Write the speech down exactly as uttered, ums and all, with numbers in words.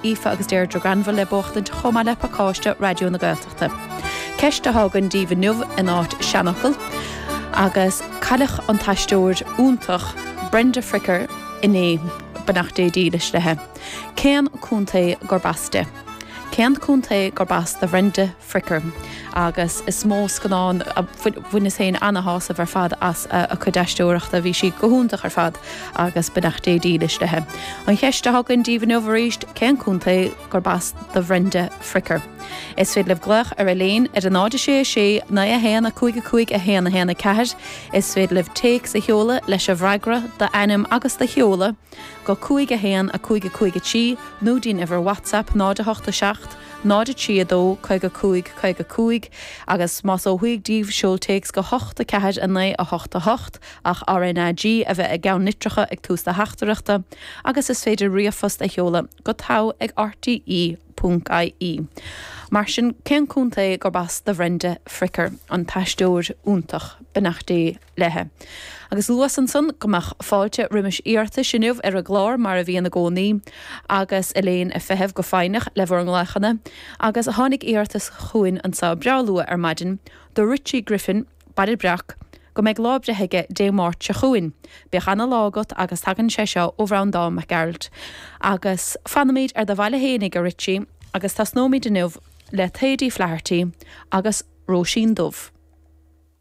Aoife agus Deirdre Granville le buachtaint chomh maith le pacáiste Raidió na Gaeltachta. Ceist atá againn daoibh inniu in áit seanfhocal agus cailleadh an t-aisteoir iontach Brenda Fricker inné beannacht Dé dílis léi. Cén contae gurb as di? Cén contae gurb as do Bhrenda Fricker agus is mó scannán bhaineas féin an-shásamh ar fad as a cuid aisteoireachta bhí sí go hiontach ar fad agus beannacht Dé dílis léi. An cheist atá againn daoibh inniu arís cén contae gurb as do Bhrenda Fricker. Is féidir libh glaoch ar Elaine ar a náid sé sé naoi a haon a cúig a cúig a haon a haon a ceathair, is féidir libh téacs a sheoladh leis an bhfreagra d'ainm agus do sheoladh go cúig a haon a cúig a cúig a trí nó dtí'n uimhir WhatsApp náid a hocht a seacht, náid a trí a dó caoga cúig caoga cúig agus más ó thuaidh daoibh seol téacs go hocht a ceathair a naoi a hocht a hocht ach RNAG a bheith i gceann litreacha ag tús do theachtaireachta agus is féidir ríomhphost a sheoladh go togha ag RTE ponc IE. Mar sin cén contae gurb as do Bhrenda Fricker an t-aisteoir iontach beannacht Dé léi. Agus luas ansan go mbeadh fáilte roimis iarratais inniu ar an gclár mar a bhíonn i gcónaí agus Elaine ag feitheamh go foighneach le bhur nglaochanna agus tháinig iarratas chugainn anseo breá luath ar maidin do Richie Griffin, Baile Breac, go mbeidh lá breithe aige Dé Máirt seo chugainn. Bíodh ana-lá agat agus tagann sé seo ó Bhreandán Mac Gearailt. Agus fanfaimid ar do bhaile fhéinig a Richie agus tosnóimid inniu le Thady Flaherty agus Róisín Dubh.